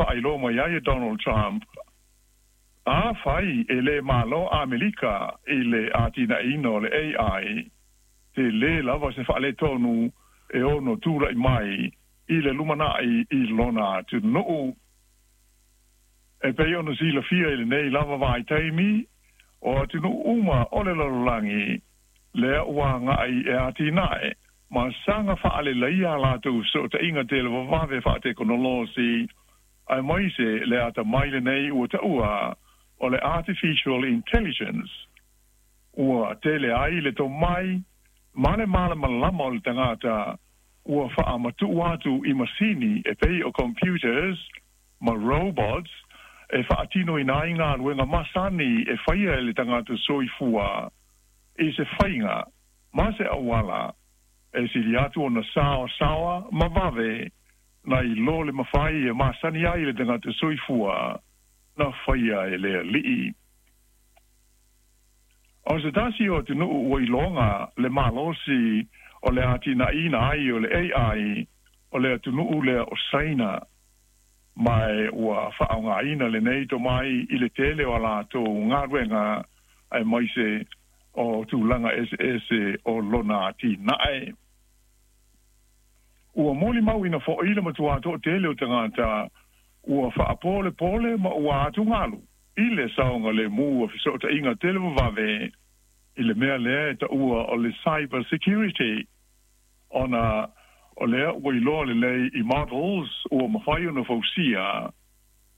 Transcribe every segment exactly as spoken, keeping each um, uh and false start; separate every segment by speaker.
Speaker 1: Faailoa mai ai e Donald Trump, afai e lē malo Amerika i le atinaeina o le A I, telē lava se faaletonu e ono tula'i mai i le lumana'i i lona atunuu. E pei ona silafia i lenei lava vaitaimi, o atunuu uma o le lalolagi lea ua aga'i e atinae ma saga faaleleia latou fesootaiga televavave faatekonolosi, aemaise le atamai lenei ua taua o le artificial intelligence. Ua tele ai le tomai ma le malamalama o le tagata ua faamatu'u atu i masini e pei o computers ma robots e faatinoina ai galuega masani e faia e le tagata soifua i se faiga ma se auala e sili atu ona saosaoa ma vave nai lo le mafai e masani ai le tagata soifua na faia e le Alii. O se tasi o atunuu ua iloga le malosi o le atinaeina ai o le A I, o le atunuu lea o Saina, ma ua faaaogāina lenei tomai i le tele o a latou galuega aemaise o tulaga eseese o lona atinae. Ua molimauina fo'i le matuā to'atele o tagata ua faapolepole ma ua atugalu i le saogalēmū o feso'ota'iga televavave i le mea lea e taua o le cyber security, ona o lea ua iloa lelei i models ua mafai ona fausia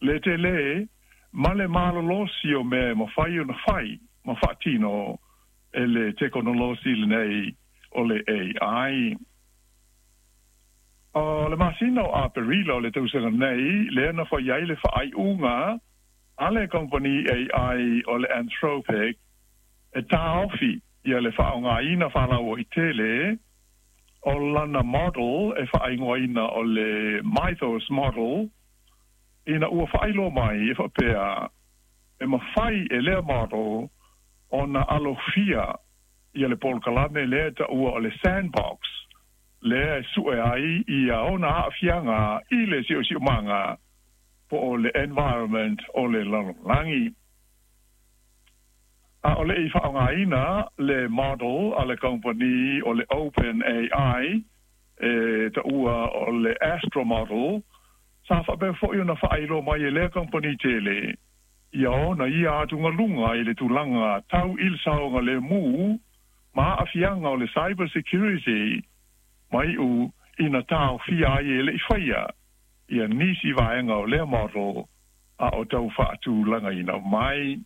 Speaker 1: le telē ma le malolosi o mea e mafai ona fai ma faatino e le tekonolosi lenei o le A I. O le masina o Aperila o le tausaga nei lea na fai ai le faaiuga a le kamupani A I o le Anthropic e taofi ia le faaaogāina faalauaitele o lana model e faaigoaina o le Mythos model, ina ua faailoa mai e faapea e mafai e lea model ona alofia ia le polokalame lea taua o le sandbox lea e su'e ai ia ona aafiaga i le siosiomaga po o le environment o le lalolagi. A o le'i faaaogāina le model a le kamupani o le Open A I e taua o le Astra model, sa faapea fo'i ona faailoa mai e lea kamupani tele ia ona ia atugaluga i le tulaga tau i le saogalēmū ma aafiaga o le cyber security, ma iu ina taofia ai e le'i faia ia nisi vaega o lea model a o tau faatulagaina mai.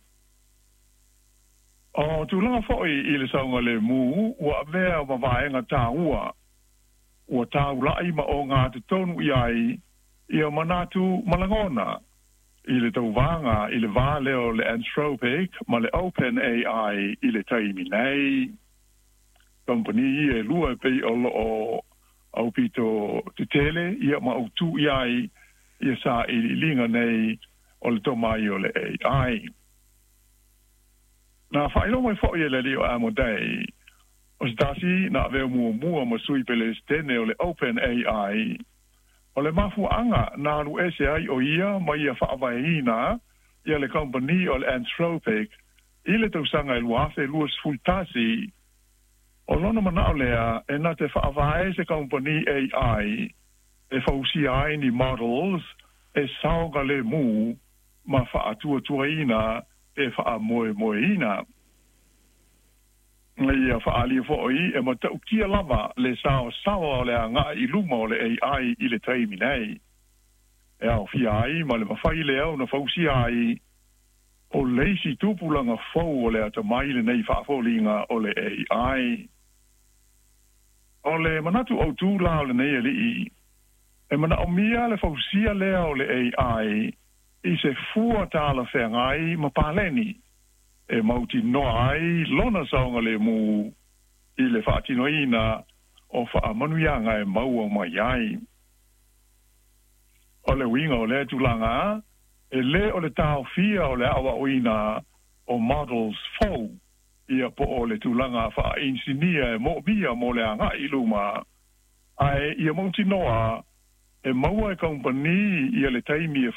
Speaker 1: O tulaga fo'i i le saogalēmū ua avea ma vaega tāua ua taula'i ma ogatotonu i ai ia manatu ma lagona i le tauvaga i le vā lea o le Anthropic ma le Open A I i le taimi nei. Kamupani ia e lua e pei o loo aupito tetele ia ma autū i ai ia sailiiliga nei o le tomai o le A I. Na faailoa mai fo'i e le alii o Amodei, o se tasi na avea muamua ma sui pelesetene o le Open A I, o le mafuaaga na alu ese ai o ia ma ia faavaeina ia le kamupani o le Anthropic i le tausaga e lua afe luasefulu tasi, o lona manao lea e na te faavae se kamupani A I e fausia ai ni models e saogalēmū ma faatuatuaina e faamoemoeina. Ia faaalia fo'i e matautia lava le saosaoa o le aga'i i luma o le A I i le taimi nei, e aofia ai ma le mafai lea ona fausia ai o le isi tupulaga fou o le atamai lenei faafoliga o le A I. O le manatu autū la o lenei alii, e manaomia le fausia lea o le A I i se fua talafeagai ma paleni e mautinoa ai lona saogalēmū i le faatinoina o faamanuiaga e maua mai ai. O le uiga o lea tulaga, e lē o le taofia o le aoaoina o models fou ia po o le tulaga faainisinia e moomia mo le aga'i i luma, ae ia mautinoa e maua e kamupani ia le taimi e